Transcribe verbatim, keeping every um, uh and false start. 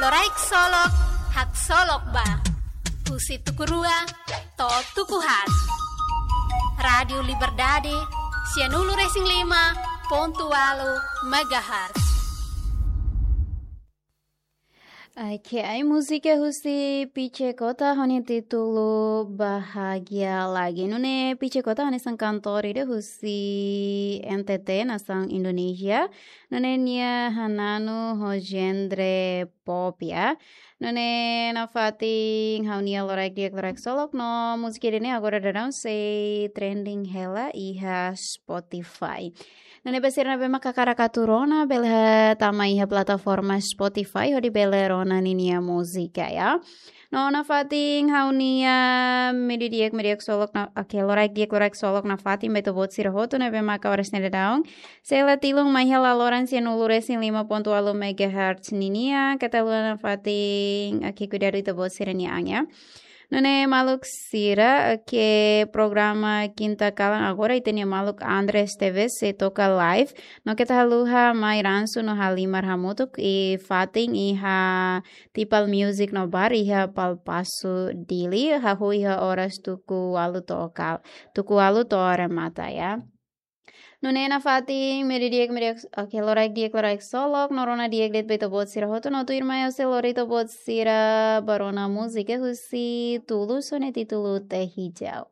Loraik Solok, haksolok ba. Husi tuku rua to'o tuku haat. Rádiu Liberdade, sianulu-resin-lima pontu ualu megahertz. Oke, ai múzika husi Pice Cota ho nia títulu Bahagia Lagi. Nune'e Pice Cota hanesan kantór ida husi N T T, nasaun Indonézia. Nune'e nia hananu ho genre pop, ya. Nune'e nafatin ha'u-nia loraik di'ak, loraik solok no múzika ida-ne'e agora daudaun sei trending hela iha Spotify. Nune'e ba sira ne'ebé mak hakarak atu rona, bele tama iha plataforma Spotify hodi bele rona ninia múzika, ya. No nafatin ha'u-nia média di'ak, média di'ak solok na, oke, loraik di'ak, loraik solok nafatin ba ita-boot sira hotu ne'ebé mak oras ne'e daudaun sei la tilun mai hela loron sianulu-resin-lima pontu ualu megahertz ninia, keta haluha nafatin, oke, kuidadu ita-boot sira-nia an, ya. Nune'e maluk sira, oke, programa Kinta Kalan agora ita-nia maluk Andres Teves sei toka live. No keta haluha mai ransu no halimar hamutuk iha fatin iha Tipal Music no Bar iha Palpasu Dili, hahú iha oras tuku ualu to'o kal-, tuku ualu to'o remata, ya. Nune'e nafatin média di'ak, média di'ak, oke, loraik di'ak, loraik solok, no rona di'ak de'it ba ita-boot sira hotu, no tuirmai ha'u sei lori ita-boot sira ba rona múzika husi Tulus ho nia títulu Teh Hijau.